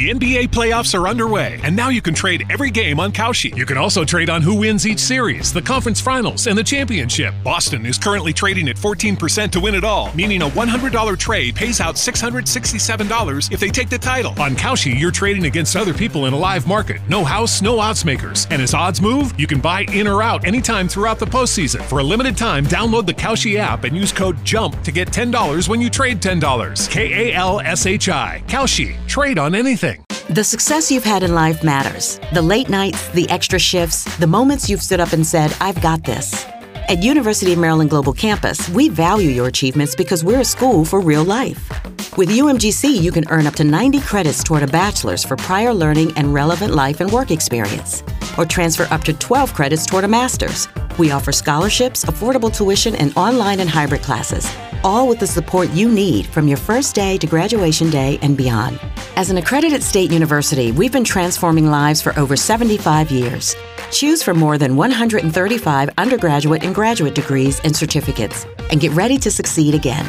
The NBA playoffs are underway, and now you can trade every game on Kalshi. You can also trade on who wins each series, the conference finals, and the championship. Boston is currently trading at 14% to win it all, meaning a $100 trade pays out $667 if they take the title. On Kalshi, you're trading against other people in a live market. No house, no odds makers. And as odds move, you can buy in or out anytime throughout the postseason. For a limited time, download the Kalshi app and use code JUMP to get $10 when you trade $10. Kalshi. Kalshi. Trade on anything. The success you've had in life matters. The late nights, the extra shifts, the moments you've stood up and said, "I've got this." At University of Maryland Global Campus, we value your achievements because we're a school for real life. With UMGC, you can earn up to 90 credits toward a bachelor's for prior learning and relevant life and work experience, or transfer up to 12 credits toward a master's. We offer scholarships, affordable tuition, and online and hybrid classes, all with the support you need from your first day to graduation day and beyond. As an accredited state university, we've been transforming lives for over 75 years. Choose from more than 135 undergraduate and graduate degrees and certificates, and get ready to succeed again.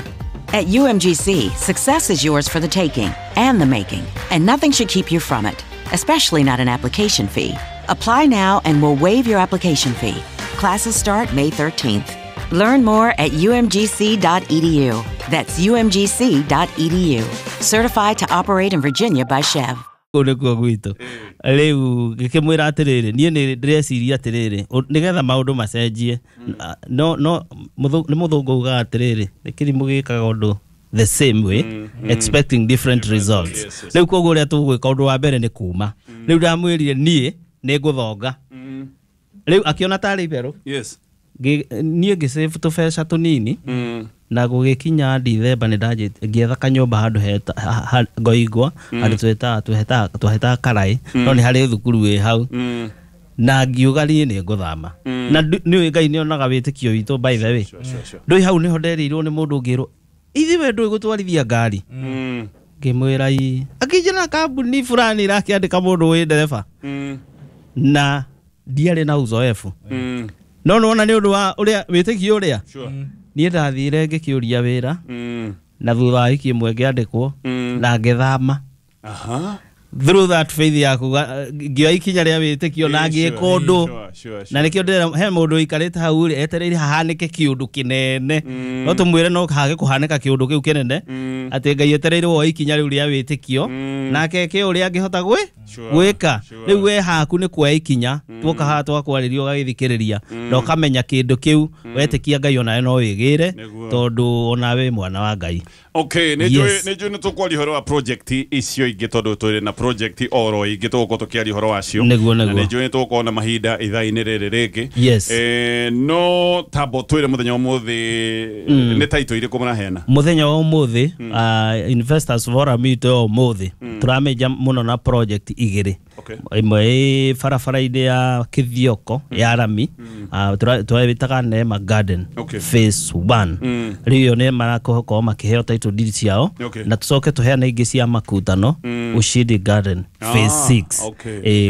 At UMGC, success is yours for the taking and the making, and nothing should keep you from it, especially not an application fee. Apply now and we'll waive your application fee. Classes start May 13th. Learn more at umgc.edu. That's umgc.edu. Certified to operate in Virginia by SCHEV. Kũu nĩkuo gwitũ. Rĩu ngĩkĩmwĩra atĩrĩrĩ, niĩ nĩ ndĩreciria atĩrĩrĩ, nĩgetha maũndũ macenjie, no nĩ mũthũngũ ugaga atĩrĩrĩ, nĩ kĩrimũ gĩkaga ũndũ the same way expecting different results. Rĩu koguo ũrĩa tũgwĩka, ũndũ wa mbere nĩ kuma. Rĩu ndamwĩrire niĩ nĩ ngũthonga. Rĩu akĩona tarĩ itherũ. Niĩ ngĩsave tũbeca tũnini na gũgĩkinya Dithemba nĩ ndanjĩtie ngĩetha kanyũmba handũ heta Ngoingwa, handũ twahetaga Karaĩ, no nĩ harĩ thukuru wĩ hau, na ngiuga niĩ nĩ ngũthama na nĩũĩ Ngai nĩonaga wĩtĩkio witũ, by the way. Ndũĩ hau nĩho nderirwo nĩ mũndũ, ngĩrwo, "Ithuĩ we ndũĩ gũtwarithia ngari?" Ngĩmwĩra ii. Akĩnjĩra kambuni fulani irakĩandĩka mũndũ wĩ ndereba, na ndiarĩ na uzoefu, no nĩwona nĩ ũndũ wa ũrĩa wĩtĩkio ũrĩa niĩ ndathire ngĩkĩũria wĩra, na thutha wa wiki ĩmwe ngĩandĩkwo na ngĩthama through that faith yaku, ngĩoya ikinya rĩa wĩtĩkio na ngĩka ũndũ. Na nĩkĩo ndĩrera he mũndũ ũikarĩte hau rĩ, etereire hahanĩke kĩũndũ kĩnene, no tũmwĩre no hage kũhanĩka kĩũndũ kĩu kĩnene, atĩ Ngai etereire woe ikinya rĩu rĩa wĩtĩkio nake eke ũrĩa angĩhota gwĩka. Rĩu we haku nĩ kuoya ikinya. Tuoka haha twakwarĩria, ũgagĩthikĩrĩria na ũkamenya kĩndũ kĩu wetĩkia Ngai, onawe no wĩgĩre, tondũ onawe wĩ mwana wa Ngai. Okay, nĩ njũĩ nĩ njũĩ nĩ tũkwaria ũhoro wa project icio ingĩ, tondũ tũrĩ na project oro ingĩ tũgũkorwo tũkĩaria ũhoro wacio. Na nĩ njũĩ nĩ tũgũkorwo na mahinda ithaa-inĩ rĩrĩ rĩngĩ. No tambo twĩre, mũthenya wa ũmũthĩ nĩ title irĩkũ mũraheana? Mũthenya wa ũmũthĩ, investors forum itũ ya ũmũthĩ tũramĩnja mũno na project igĩrĩ. Ĩmwe ĩ barabara-inĩ ya Kĩthioko ya rami, twĩtaga Neema Garden phase 1. Rĩu ĩyo nĩ marakorwo makĩheo title deed ciao, na tũcoke tũheane ingĩ cia Makutano, Ushindi Garden phase 6.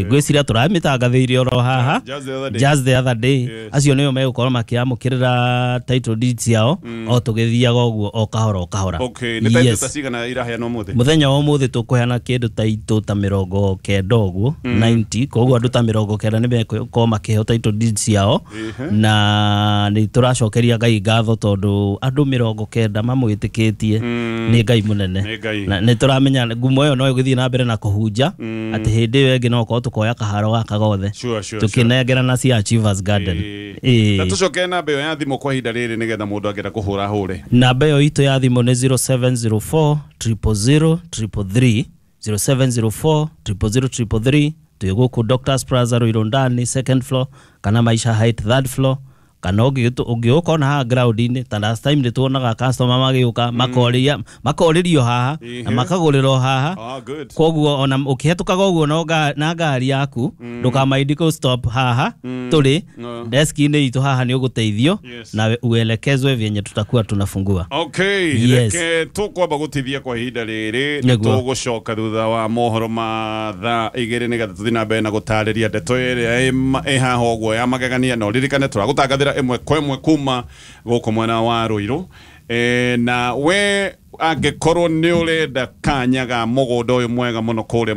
Ngwĩciria tũramĩtangathĩirie oro haha. Just the other day. Just the other day. Acio nĩo megũkorwo makĩamũkĩrĩra title deed ciao o tũgĩthiaga ũguo o kahora o kahora. Okay, nĩ title ta cigana iraheanwo ũmũthĩ? Mũthenya wa ũmũthĩ tũkũheana kĩndũ ta itũ ta 90 ũguo, 90. Koguo andũ ta 90 nĩ megũkorwo makĩheo title deed ciao, na nĩ tũracokeria Ngai ngatho tondũ andũ 90 mamwĩtĩkĩtie nĩ Ngai mũnene. Nĩ Ngai. Na nĩ tũramenya ngumo ĩyo no ĩgũthiĩ na mbere na kũhunja, atĩ hĩndĩ ĩyo ĩngĩ no korwo tũkoya kaharo gaka gothe tũkĩnengerana cia Achievers Garden. Na tũcoke namba ĩyo ya thimũ kwa ihinda rĩrĩ, nĩgetha mũndũ angĩenda kũhũra ahũre. Namba ĩyo itũ ya thimũ nĩ 0704 000 333, 0704 000 333. Twĩ gũkũ Doctors Plaza, Ruiru ndani, second floor, kana Maisha Height, third floor, kana ũngĩũka ona haha ground-inĩ. Ta last time nĩ tuonaga customer magĩũka makorĩria makorĩrio haha na makagũrĩrwo haha. Ah, good. Koguo ona ũkĩhetũkaga ũguo no na ngari yaku, ndũkamaindi kũ stop haha tũrĩ No. deski-inĩ itũ haha, nĩ ũgũteithio na uelekezwe vyenye tutakuwa tunafungua. Reke tũkwamba gũtithia kwa ihinda rĩrĩ. Tũgũcoka thutha wa mohoro ma thaa 2, nĩgetha tũthiĩ na mbere na gũtarĩria ndeto ĩrĩa ĩ haha ũguo ya magegania. Na ũririkane tũragũtangathĩra ĩmwe kwa ĩmwe kuma gũkũ mwena wa Rũirũ. Na we angĩkorwo nĩ ũrenda kanya ga mũgũnda ũyũ mwega mũno kũrĩa